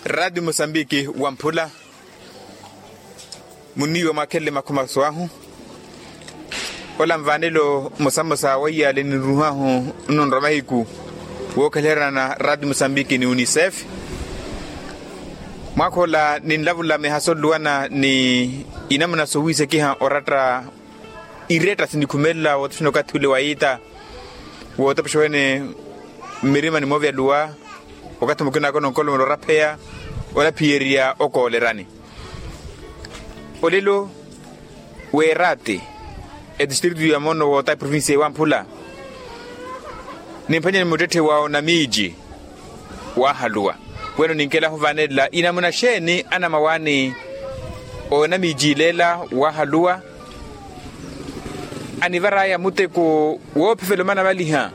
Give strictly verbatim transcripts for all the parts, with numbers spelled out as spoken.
Raati musambiki wamphula. Muniiwa mwakhelele makhumaso ahu. Ola nvaanelo mmosa mmosa wa iyaale ninruhahu nnunra mahiku wookhelherana raati musambiki ni unicef. Mwaakha ola ninlavula mihaso nluwana ni inamuna sowiisekiha oratta iretta sinikhumelela wootoxana okathi ule wa iita wootopexa wene mmirima ni moovyaluwa. Wakathi mukina akona onkolomela orapheya olaphiyerya okoolerani olelo weeraati etistritu ya mono woota eprovinsiya ewamphula. Nimphwanyani muttetthe wa onamiiji waahaluwa weno ninkelahu vaanelela inamuna xeeni anamawaani onamiiji ileela waahaluwa anivar'aya muteko woophivela omanavaliha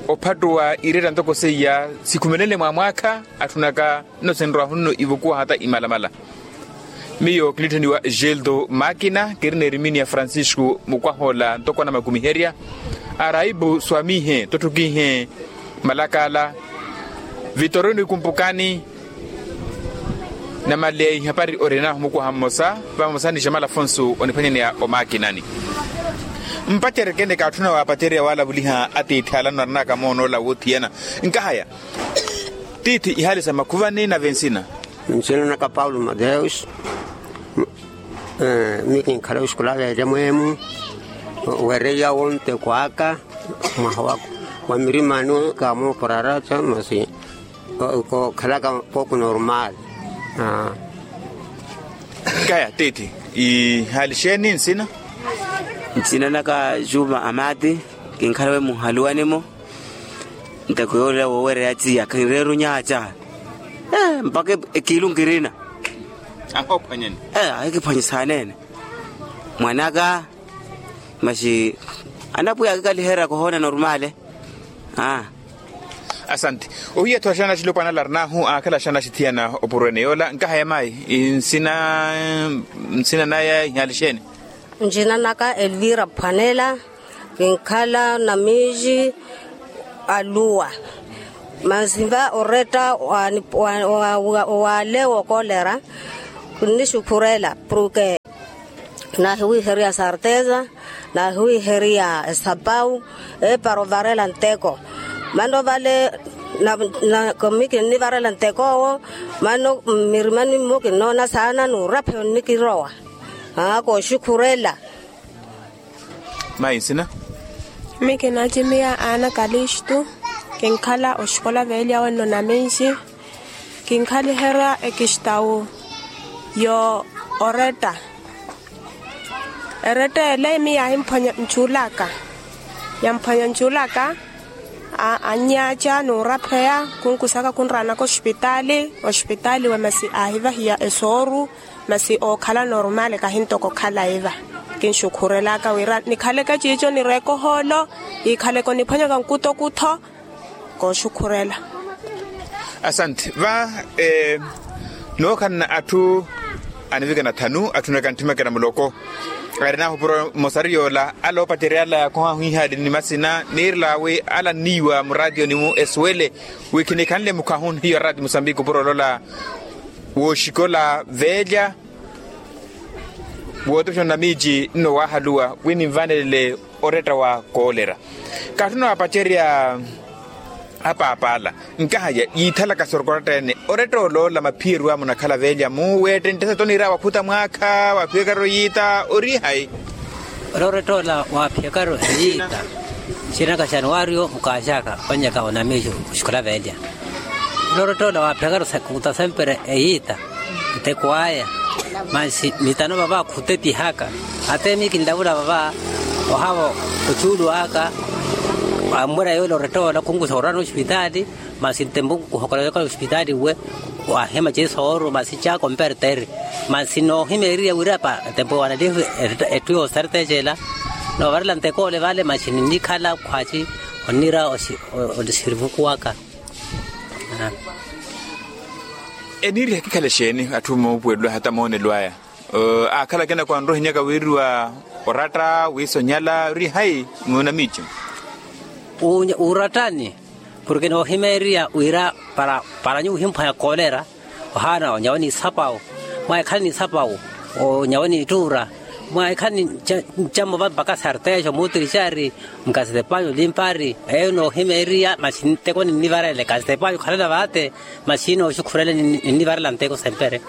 ophattuwa iretta ntoko seiya sikhumenenle mwa mwaakha atthunaka nno sinrwahu nno ivukuwa hata imalamala. Miyo kinitthaniwa geldo makina kirina erimini ya francisco mukwah'ola ntoko anamakumi herya araibu swamihe totthukihe malakala vitoroni kumpukani. Namaleya ihapari orinahu mukwaha mmosa vamosa ni jamala afonso oniphwanyaneya omakinani. Mpacereke nikaatthuna waapacerya waalavuliha atiithi alano arinaka moonoola woothiyana nkahaya tiithi ihaali sa makhuvani nave nsina. Nsina naka paulo mateus. Miyo kinkhala oxikola veerya mweemu weereiya wonteko aka mwaha wa mirimani kaamooporaraca masi kookhalaka poku normal. Kaya tiithi ihaali xeeni nsina? Nsina naka juma amati kinkhala we muhaluwani-mo. Nteko yoolela woowereya tiya kinreera onyaaca mpakha ekiilu nkirina. Ahoophwanyani. Ahikiphwanyisaanene mwanaka. Masi anapwiya akikaliherya kohoona normale. Asante. Ohiya-tho axana axilopwana larinahu akhala axana axithiyana opurwene yoola nkahaya mayi nsina nsina naya ihaali xeeni? Nsina naka elvira phwanela. Kinkhala namiiji aluwa masi va oretta waale wookolera. Kinnixukhurela purke naahiwiiheriya sarteza naahiwiiheriya esapau eepara ovarela nteko. Mano vale mi kinnivarela nteko owo. Mano mmirimani mmo kinnoona saana n'urapheya onnikirowa kooxukhurela. Mayi nsina? Mi kinacimiya ana kalistu kinkhala oxikola veelya wenno naminxi. Kinkhaliherya ekistawu yo oretta. Eretta ele mi yaahimphwanya ncuulaka yamphwanya ncuulaka. Annyaaca n'urapheya khunkusaka khunraanaka oxipitaali oxipitaali we masi aahivahiya esooru. Masi ookhala normale kahintoko okhala iva. Kinxukhurelaka wira nikhaleke ciico nireeke ohoolo. Yiikhaleke oniphwanyaka nkutokutho kooxukhurela. Asante va nookhalana atthu anivikana thanu atthunaka ntthimekera muloko. Arinahu puro mosari yoola ala oopacerya ala yaakohahu ihaali ni masina niirel'awe ala nniiwa muraatiyoni-mu esuwele wi khinikhanle mukhahu n'iyo araati musambiki opuro olola wooxikola veelya wootoxana namiiji nno waahaluwa wi ninvaanelele oretta wa koolera. Kaatthuna waapacerya apaapa ala nkahaya yiithalaka soroko oratta-ene oretta oloola maphiyeryo amunakhala veelya mu weettenttesa toniira wakhuta mwaakha waaphiyakaru yiita ori hayi? Olorettoola waaphiyakaru eyiita xinaka xanuwariyo mukaaxaka onnyaka onamiixu oxikola veelya. Olorettoola waaphiyakaru sakuta sempre eyiita nteko aya. Masi mitano vava khutepihaka. Ate mi kinlavula vava ohavo ocuulu aka ammwera yoole orettoola khunkusa orana oxipitaali. Masi ntempu nkuhokola yokala oxipitaali uwe. Wahima cisooro masi caka omperteri. Masi noohimeeriya wirapa tempo wanalihu etthu yoosartecela noovarela ntekole vale masi ninnikhala khwaci onnira osirivukuwaka. Eniiriha kikhale xeeni atthu moopuwelwa hata moonelo aya? Aakhala akina kwanrohinyaka wiiriwa oratta wiisonyala ori hayi? Munamiici. Uurattani Porke noohimeeriya wira para nyuwo ohimphwanya koolera, ohaana onyawe ni isapawu, mwahikhale ni isapawu, onyawe ni ittuura, mwahikhale ni ncammo vampaka sartejo muutiricari, mukasitepanyu limpari eyo noohimeeriya masi nteko ninnivarela ekasitepanyu khalana vaate. Masi nooxukhurela ninnivarela nteko sempre.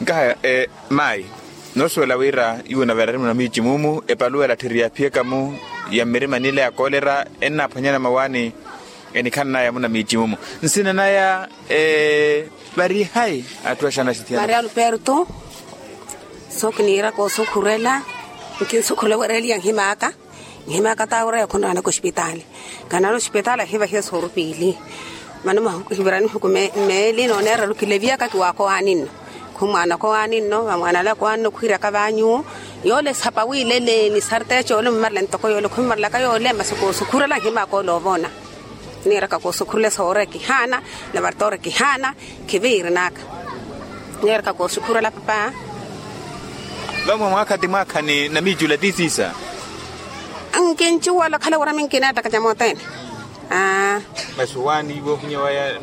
Nkahaya, mayi, noosuwela wira iwo navarari munamiici mumu epaluwela tthiri yaaphiyaka-mu ya mmirima nile ya koolera ennaaphwanyana mawaani enikhananaya munamiici mumu. Nsina naya, varihayi atthu axana axithiyana. Maria alberto. So kiniiraka osukhurela nkinsukhurela wereliya nhimaka. Nhimaka taawira yokhonraanaka ospitaali. Kanali ospitaali ahivahiya soorupiili. Mano mahuku hivirani huku meeli nooneera lukilevyaka kiwaakowaani nno. Khumwaana kowaani nno vamwaanala kowaani nno khwiiraka vaanyuwo. Yoole sapa wiilele ni sarteece yoole mmarela ntoko yoole khummarelaka yoole masi koosukhurela nhimaka ole ovoona. Niiraka koosukhurela soore kihaana. Lavartoore kihaana. Khiviirinaka. Niiraka koosukhurela papa. Vamwe mwaakha ti mwaakha ni namiicula ti siisa. Nkincuwala khala wira minkineettaka camootene. Masi owaani iwe ohinya waya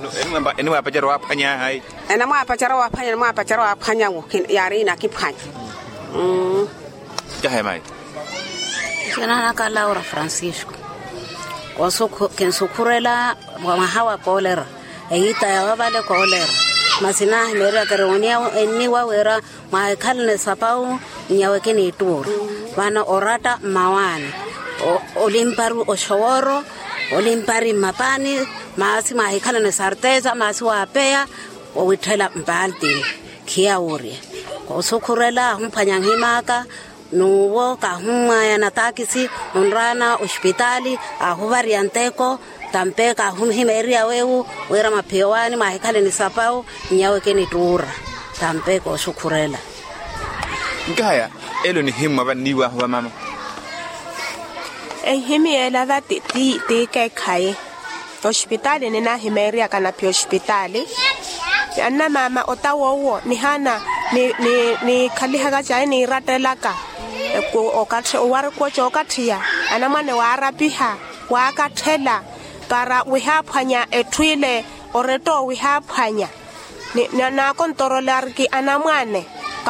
eniwaapacerya waaphwanya hayi? Enamwaapacerya waaphwanya enamwaapacerya waaphwanya wo. Yaari inakiphwanya. Cahe mayi. Nsina naka laura francisco. Kinsukhurela mwaha wa koolera. Eyiita yawe vale koolera. Masi naahimeerya kiri oniya enniwa wira mwaahikhalana esapawu. Nnyawe kiniittuura vano oratta mmawaani. Olimpari oxoworo. Olimpari mmapaani. Maasi mwaahikhalana esarteza maasi waapeya. Owitthela mpaltini. Khiya wurya. Koosukhurela ahumphwanya nhimaka. N'uwo kahummwaya na taakisi onraana ospitaali. Aahuvariya nteko. Tampe kahuhimeeriya weewu wira maphiya owaani mwaahikhale ni sapawu. Nnyawe kinittuura. Tampe koosukhurela. Nkahaya elo nihimmwa vanniiwahu vamama. Ehimiyeela va ti ti ti keekhayi. Ospitaali ninaahimeeriyaka naphiya ospitaali. Annamaama otawa owo nihaana nikhalihaka cayi niirattelaka. Owarikuwo cookattiya anamwane waarapiha waakatthela para wihaaphwanya etthu ile. Oretta owo wihaaphwanya naakontorolariki anamwane.